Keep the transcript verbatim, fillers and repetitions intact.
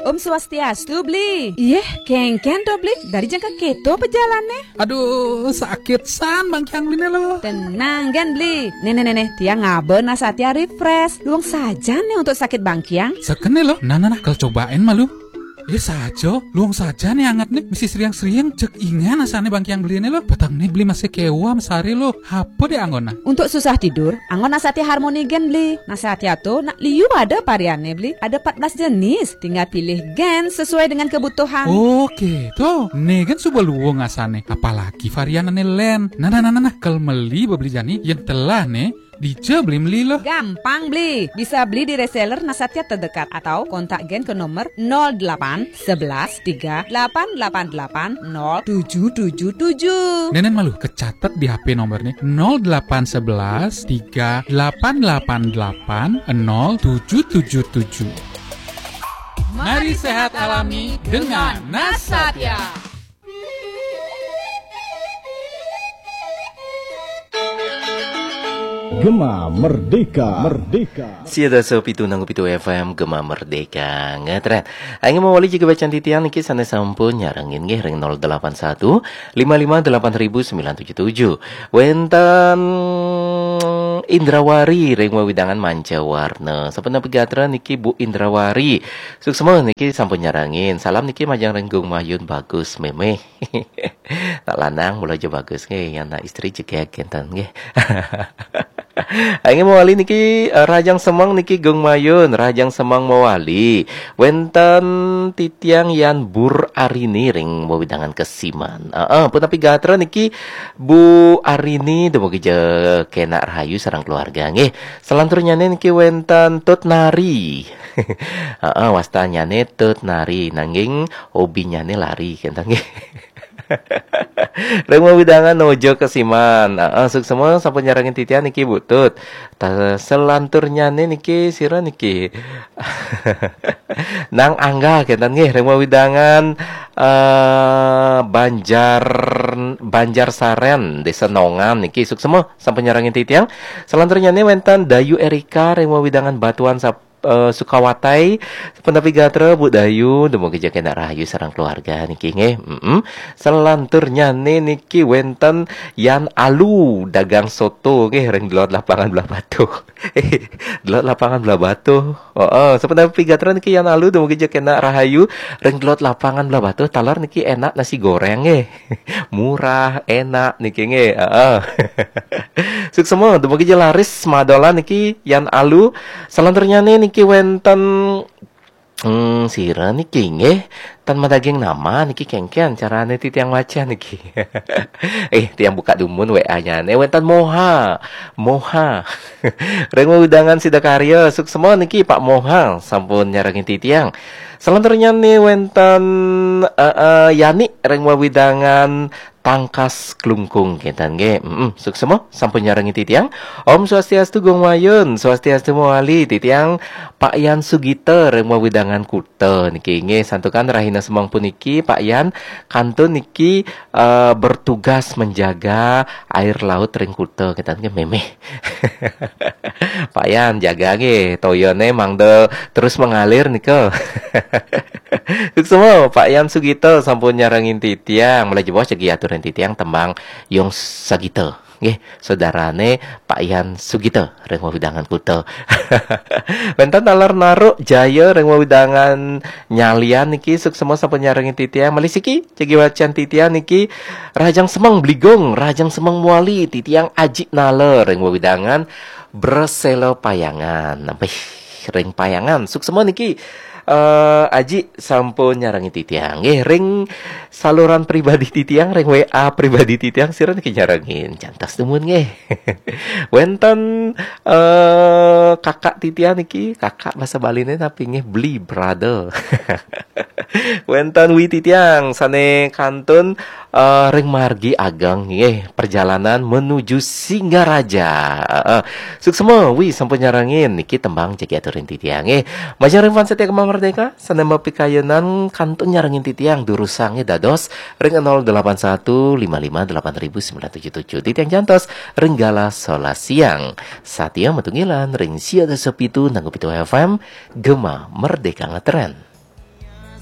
Om Swastiastu, Bli. Iyeh, kéngkén to, Bli. Dari jang ka kéto pejalane. Aduh, sakit san bangkiang Bline lo. Tenang gén, Bli. Neh, neh, neh, neh, tiang ngaba Nasatya Refresh. Luung saja neh untuk sakit bangkiang. Sekene lo. Nah, nah, nah, kal cobain malu. Ih, saja, luung saja neh anget neh. Mesti seriang-seriang, cek ingan asane bangkiang Bline lo. Peteng neh Bli masih kewa mesare lo. Apa deh anggona? Untuk susah tidur, anggon Nasatya Harmony gén, Bli. Nasatya to nak liu ada varianne, Bli. Ada empat belas jenis. Tinggal pilih gén sesuai dengan kebutuhan. Oke, to. Neh gén suba luung asane. Apalagi varian ane len. Nah, nah, nah, nah, nah. Kal meli bebeli jani, yen telah neh, dija Bli meli lo. Gampang, Bli. Bisa beli di reseller Nasatya terdekat atau kontak gén ke nomor nol delapan sebelas tiga delapan delapan delapan nol tujuh tujuh tujuh. Nenen malu, kecatet di H P nomor nih, nol delapan sebelas tiga delapan delapan delapan nol tujuh tujuh tujuh. Mari sehat alami dengan Nasatya. Gema Merdeka, Merdeka. Sia dasa pitu nanggu pitu F M, Gema Merdeka ngetren. Aing mawali jagi bacaan titiang niki sane sampun nyarengin nggih ring nol delapan satu, lima lima delapan ribu sembilan tujuh tujuh. Wenten Indrawari ring wewidangan Manca Warna. Sapunapi gatra niki Bu Indrawari? Suksma niki sampun nyarengin. Salam niki majeng ring Gung Mayun Bagus Memeh. Nak lanang mula ja bagus nggih, yang nak istri jegeg kenten nggih. Aing mawali niki, eh, Rahajeng Semeng niki Gung Mayun, Rahajeng Semeng mawali. Wenten titiang Yan Bur Arini ring wewidangan Kesiman. Heeh, punapi gatra niki Bu Arini, dumugi ja kenak rahayu sareng keluarga nggih. Salanturnyane niki wenten Tut Nari. Heeh, wastannyane Tut Nari, nanging hobinyane lari kenten nggih. Ring wewidangan Nojo Kesiman. Heeh, suksma sampun nyarengin titiang niki Bu Tut. Ta-, salanturnyane niki sira niki. Nang Angga kenten nggih ring wewidangan, eh, Banjar, Banjar Saren, Desa Nongan niki suksma sampun nyarengin titiang. Salanturnyane wenten Dayu Erika ring wewidangan Batuan Sap-, eh, Sukawatai. Punapi gatra Bu Dayu, dumugi ja kenak rahayu sareng keluarga niki nggih. Mm-mm. Salanturnyane niki wenten Yan Alu dagang soto nggih ring Delod Lapangan Blahbatuh. Eh, Delod Lapangan Blahbatuh. Heeh, sapunapi gatra niki Yan Alu dumugi ja kenak rahayu ring Delod Lapangan Blahbatuh. Taler niki enak nasi goreng nggih. Murah, enak niki nggih. Heeh. Suksma, dumugi ja laris madolan niki Yan Alu. Salanturnyane niki wenten, hmm, sira niki nggih. Tan madaging nama niki kengken carane titiang waca niki. Eh, tiang buka dumun W A-nyane wenten Moha. Moha. Ring wewidangan Sidakarya, suksma niki Pak Moha sampun nyarengin titiang. Salanturnyane wenten, eh, eh, Yani ring wewidangan Tangkas Klungkung kenten nggih. Mm-mm, suksma sampun nyarengin titiang. Om Swastiastu Gung Mayun, Swastiastu mawali titiang Pak Yan Sugita ring wewidangan Kuta niki nggih. Santukan rahina semeng puniki Pak Yan kantun niki, eh, bertugas menjaga air laut ring Kuta kenten nggih memeh. Pak Yan, jaga nggih, toyane mangda terus mengalir nika. Suksma, Pak Yan Sugita sampun nyarengin titiang. Mula jebos jagi aturin titiang tembang Yung Sagita. Nggih, saudarane Pak Yan Sugita ring wewidangan Kuta. Wenten taler Naruk Jaya ring wewidangan Nyalian niki suksma sampun nyarengin titiang. Malih siki jagi wacan titiang niki Rahajeng Semeng Bligong, Rahajeng Semeng Muali, titiang Aji Nala ring wewidangan Bresela Payangan. Nampih ring Payangan. Suksma niki, eh, Aji sampun nyarengin titiang. Nggih, ring saluran pribadi titiang, ring W A pribadi titiang, sira niki nyarengin. Jantos dumun nggih. Wenten, eh, kakak titiang niki, kakak basa Baline napi nggih, Bli, brother. Wenten Wi titiang sane kantun, eh, ring margi ageng nggih, perjalanan menuju Singaraja. Heeh. Suksma Wi sampun nyarengin niki tembang jagi aturin titiang nggih. Majeng ring fans setia Gema Merdeka sane mapikayunan kantun nyarengin titiang durusang nggih dados ring nol delapan satu lima lima delapan ribu sembilan tujuh tujuh. Titiang jantos ring galah solas siang. Satia matunggilan ring sia dasa pitu nanggu pitu F M, Gema Merdeka ngetren.